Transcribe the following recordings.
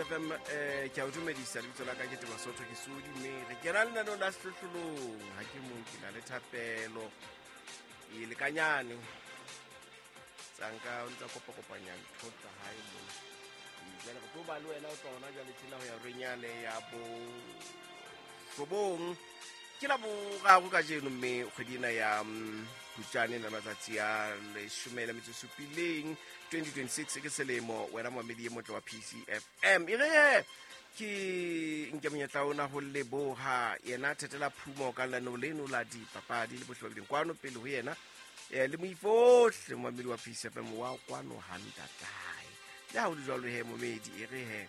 PCFM, ke a o dumedisa. Lebitso la ka ke Teba Sotho, ke Sodi, mme re kena lenaneong la Sehlohlolong. Ha ke mong, ke na le Thapelo e lekanyane tsanka o ntsa kopakopanya ntho tsa hae mona. Jwale re tlo ba le wena o tla ona jwale tjena ho ya renyane ya bo robong. Ke la boraro kajeno, mme kgwedi ena ya Phupjane na matsatsi a 17, 2026 ke selemo. Wena moamedi e motle wa PCFM, e re ke nke monyetla ona ho leboha yena Thetela Phumo ka lenaneo leno la dipapadi le bohle ba bileng kwano pele ho yena, le moifohle moamedi wa PCFM wa kwano ha ntatae. Le ha ho le jwalo he, momedi, e re he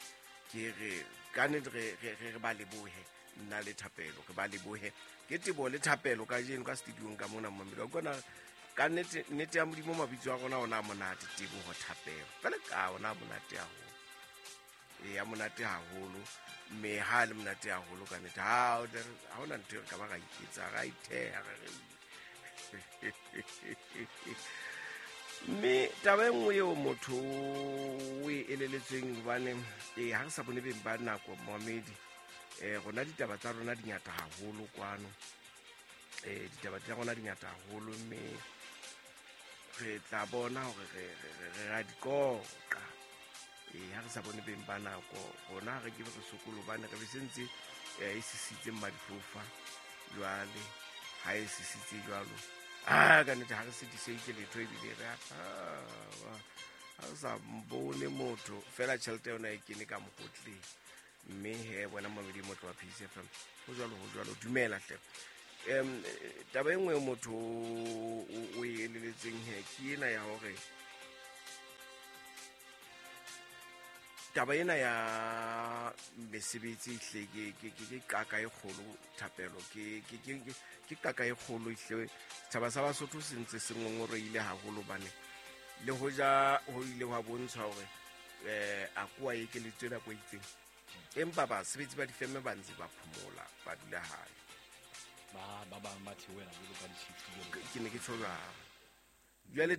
ke re ka nnete re ba lebohe, nna le Thapelo re ba lebohe. Ke Tebo le Thapelo kajeno ka studiong ka mona. Momedi wa kona ka nnete, nnete ya Modimo, mabitso a rona ona a monate, Teboho, Thapelo, fela ka ona a monate haholo, e ya monate haholo, mme ha le monate haholo ka nnete, ha hona ntho e re ka ba ra iketsa, ra itheha re re. Mme taba e nngwe eo motho o e eleletsweng, hobane ee, ha re sa bone beng ba nako, moamedi, rona ditaba tsa rona di ngata haholo kwano, ditaba tsa rona di ngata haholo, mme re tla bona hore re ra di qoqa. Ha re sa bone beng ba nako, rona re ke be re sokolo, hobane re be se ntse e sisitse mmadifofa. Jwale ha e sisitse jwalo, a ka nnete ha re setiseitse letho, ebile re ha re sa bone motho fela, tjhelete yona e kene ka mokotleng. Mme he, bona mamedi motho wa PCFM, ho jwalo, ho jwalo, dumela hle. Taba e nngwe motho o e eleletseng he ke ena ya hore taba ena ya mesebetsi ehle ke qaka e kgolo, Thapelo, ke qaka e kgolo ehle. Setjhaba sa Basotho se ntse se ngongoreile haholo, hobane le hoja ho ile hwa bontshwa hore a koa ekeletswe nako e itseng, empa basebetsi ba difeme ba ntse ba phomola, ba dula hae. Ba bang ba theohela jwalo ka di-shift jwalo. Ke ne ke tjho jwalo. Jwale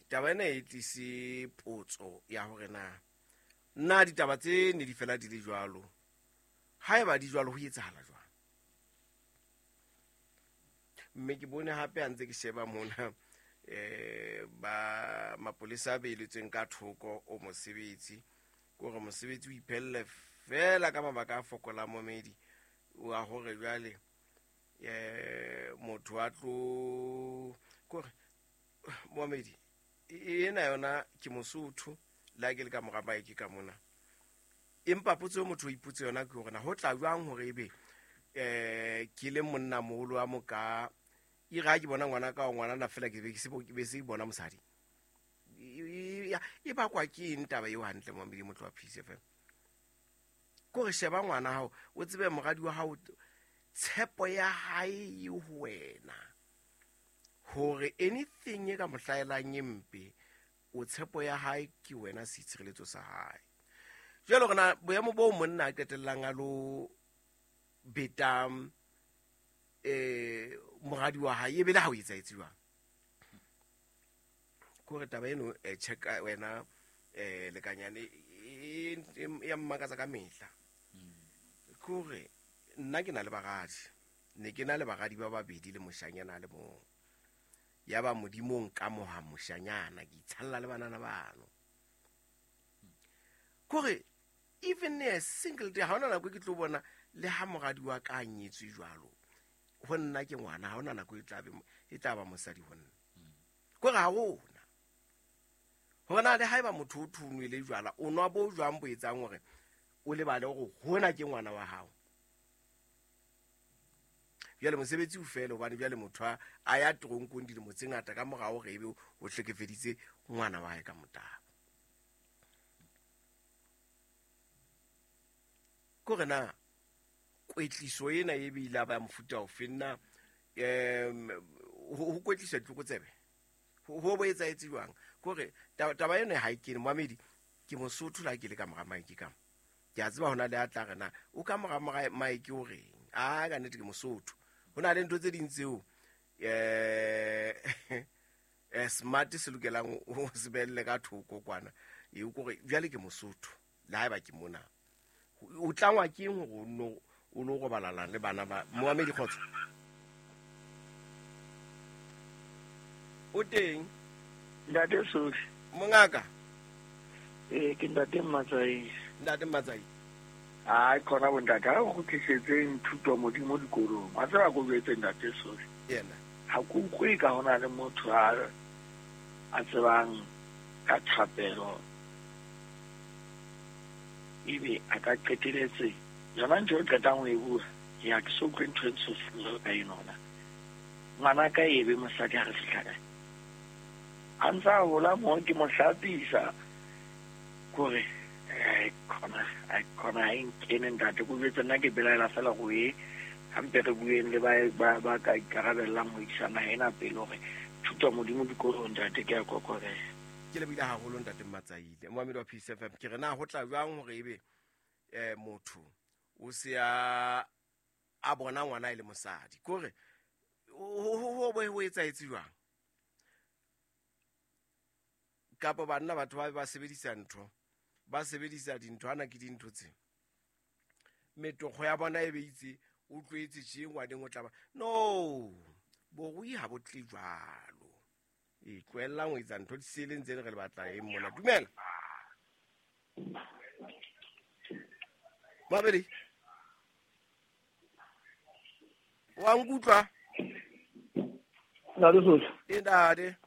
taba ena e tlise potso ya hore na ditaba tse ne di fela di le jwalo? Haeba di jwalo, ho etsahala jwang? Mme ke bone hape ha ntse ke sheba mona, ba mapolesa a beeletsweng ka thoko o mosebetsi, ke hore mosebetsi o iphelle fela ka mabaka a fokolang, momedi, wa hore jwale motho a tlo kore momedi ena yona ke Mosotho, le ha ke le ka mora maeke ka mona. Empa potso e motho o ipotse yona ke hore na ho tla jwang hore ebe ke le monna moholo wa moka, e re ha ke bona ngwana ka ngwana fela, ke be ke se ke se bona mosadi, e bakwa ke eng taba eo hantle, momedi motho wa PCFM? Kore sheba ngwana hao, o tsebe moradi wa hao, tshepo ya hae e ho wena, hore anything e ka mo hlahelang e mpe, o tshepo ya hae ke wena, seitshireletso sa hae. Jwale rona boemo boo monna a qetellang a lo beta moradi wa hae, e be le ha o etsahetse jwang? Kore taba eno, check wena, lekanyane, e ya mmakatsa ka mehla. Kore nna ke na le baradi, ne ke na le baradi ba babedi le moshanyana a le mong, ya ba Modimo nka moha moshanyana, ke itshalla le banana bano. Kore even a single day, ha hona nako e ke tlo bona le ha moradi wa ka a nyetswe jwalo, ho nna ke ngwana, ha hona nako e tla be e tla ba mosadi ho nna. Kore ha hona hore na le haeba motho o thunwele jwala, o nwa bo jwang bo etsang hore o lebale hore hona ke ngwana wa hao? Jwale mosebetsi o fele, hobane jwale motho a ya toronkong dilemo tse ngata ka morao hore ebe o hlekefeditse ngwana wa hae ka motabo. Kore na kwetliso ena e be ile a ba mofuta ofe? Nna ho kwetliswa ditlokotsebe ho bo etsahetse jwang? Kore taba ena ha e kene, moamedi. Ke Mosotho, la ke le ka mora maeke ka mo, ke a tseba hona le a tla re na o ka mora maeke o reng. A ka nnete ke Mosotho, ho na le ntho tse ding tseo smart se lokelang o se behelle ka thoko kwana. E kore jwale ke Mosotho. Le haeba ke mona. O tlangwa ke eng hore o no robalana le bana ba Moamedi Kgotso? O teng? Ntate Sofi. Mongaka. Ke Ntate Mmatsaisi. Ntate Mmatsaisi. Ai khona bo ntate, ha o kgutlisetseng thuto modimo dikolong. Wa tseba ko jwetse Ntate Sofi. Yena. Ha ke utlwe ka hona le motho a tsebang ka thapelo. Ebe a ka qeteletse yona ntho e qetang ho e bua. Ya ke so utlwe ntho e ntsho ka enona. Ngwana ka ebe mosadi ha re fihla kae. A ntsa hola mo ke mo hlapisa. Kore khona khona e nkene ntate ko jwetse nna ke belaela fela go e hampe re bueng le ba ka ikarabellang ho isa naha ena pele hore thuto modimo dikolong ntate ke a kokobela. Ke lebile haholo ntate Mmatsaile. Moamedi wa Peace FM ke re na ho tla jwang hore ebe motho o se a bona ngwana e le mosadi. Kore ho bo ho etsahetse jwang? Kapa banna batho ba sebedisa ntho, ba sebedisa dintho ana ke dintho tse. Metokgo ya bona e beitse o tlwaetse tje ngwaneng o tla ba. No, borui ha bo tle jwalo. E tlohellang ho etsa ntho di seleng tse re le batlang eng mona. Dumela. Mabedi. Wa nkutlwa? Ntate Sofi. Ntate.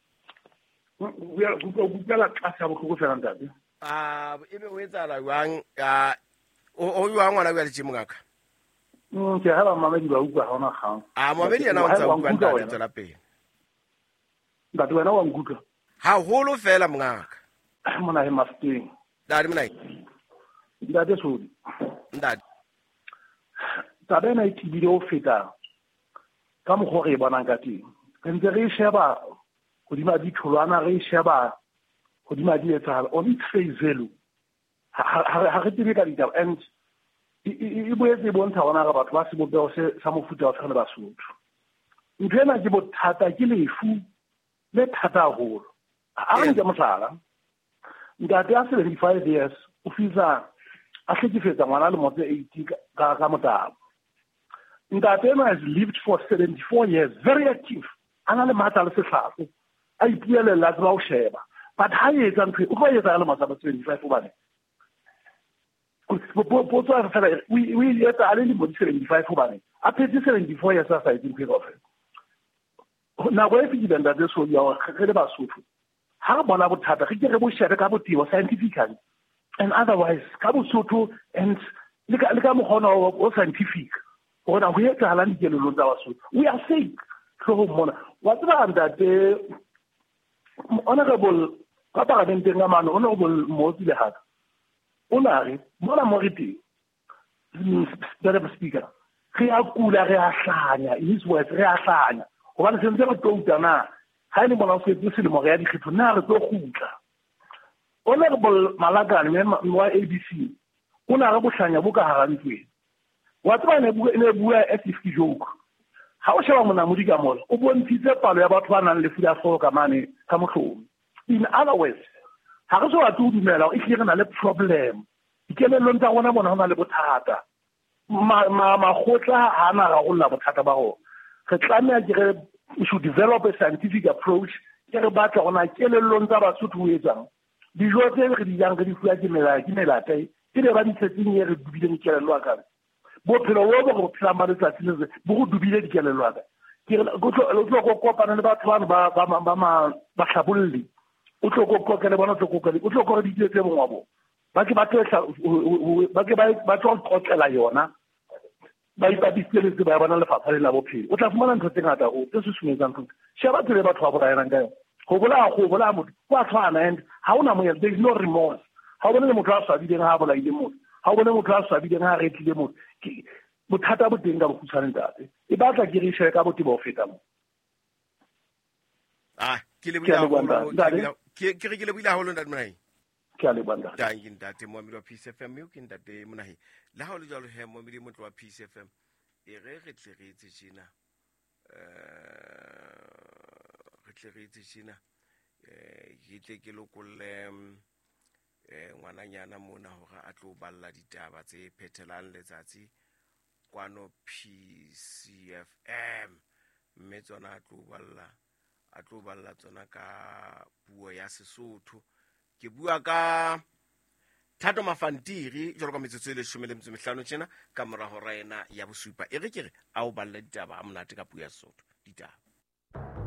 Kutlwa tlase ha bohloko fela ntate. Ebe o etsahala jwang? O jwang ngwana o ya le tje mongaka? Ke ha ba mamedi ba utlwa ha ona kgang. Mamedi yena o ntsa utlwa ntate tswela pele. Ntate wena wa nkutlwa? Haholo fela mongaka. Mona he Mafeteng. Ntate mona. Ntate Sofi. Ntate. Taba ena e tebile ho feta ka mokgwa re e bonang ka teng. Re ntse re e sheba hodima ditholwana, re e sheba hodima di etsahalo on its face value. Ha re tsebe ka ditaba and e boetse e bontsha hona re batho ba sebopeho se sa mofuta wa tshwana le Basotho. Ntho ena ke bothata, ke lefu le thata haholo. A re nke mohlala. Ntate a 75 years o fihla a hlekefetsa ngwana lemo tse 80 ka motabo. Ntate ena has lived for 74 years, very active. A na le matla le sehlahlo. A ipuelella tseba ho sheba. But ha e etsa ntho o tlo etsa le matla 75 hobane. Potso ya fela o etsa a le lemo di 75 hobane. A phetse 74 years a sa etse ntho e kaofela. Nako e fihlile ntate Sofi ya hore re le Basotho. Ha re bona bothata re ke re bo shebe ka botebo scientifically and otherwise ka Bosotho and le ka mokgwa o scientific hore na ho etsahalang dikelellong tsa Basotho. We are sick hloohong mona. Wa tseba ntate honorable ka paramenteng ka mane honorable Motsi Lehaka o na re mona mo re teng Madam Speaker re a kula re a hlanya, in his words re a hlanya hobane se ntse re touta na ha ile mona o setse selemo re ya dikgetho na re tlo kgutla. Honorable Malakane wa ABC o na re bohlanya bo ka hara ntlo ena. Wa tseba ne bua as if ke joke. Ha o sheba monamodi ka mola o bontshitse palo ya batho ba nang le lefu la hlooho ka mane ka mohlomong. In other words, ha re so batle ho dumela hore ehlile re na le problem. Dikelellong tsa rona mona ho na le bothata. Makgotla ha na rarolla bothata ba rona. Re tlameha ke re we should develop a scientific approach. Ke re batla hore na kelellong tsa Basotho ho etsang. Dijo tse re di jang re di fuwa ke melata e be ba di tshetseng e re dubileng kelello ya ka. Bophelo bo re bo phelang ba letsatsi le bo go dubile dikelello ya ka. Ke re o tlo go kopana le batho bano ba hlabolli. O tlo go qoqa le bona, o tlo qoqa le o tlo go re ditse tse bongwa bo. Ba ke ba tlo ba ke ba tlo qotlela yona. Ba ipapisitse le tsebo ya bona lefapha le la bophelo. O tla fumana ntho tse ngata ho tse susumetsang ntho. Sheba tsela e batho ba bolayanang ka yona. Ho bolaya motho ho a tshwana and ha hona moya, there is no remorse. Ha o bone le motho a swabileng ha a bolaile motho. Ha o bone motho a swabileng ha a retlile motho. Ke bothata bo teng ka bokgutshwane ntate. E batla ke re shebe ka botebo ho feta mo. Ke lebohile haholo. Ke re ke lebohile haholo ntate Monahi. Ke a leboha ntate. Thank you ntate Moamedi wa Peace FM, eo ke ntate Monahi. Le ha o le jwalo he Moamedi motlo wa Peace FM. E re re tle re etse tjena. Re tle re etse tjena. Ke tle ke lokolle Ngwananyana mona hore a tlo balla ditaba tse phethelang letsatsi kwano PCFM, mme tsona a tlo balla, a tlo balla tsona ka puo ya Sesotho. Ke bua ka Thato Mafantiri jwalo ka metsotso e 15 tjena ka mora hora ena ya bosupa. E re ke re a o balle ditaba a monate ka puo ya Sesotho ditaba.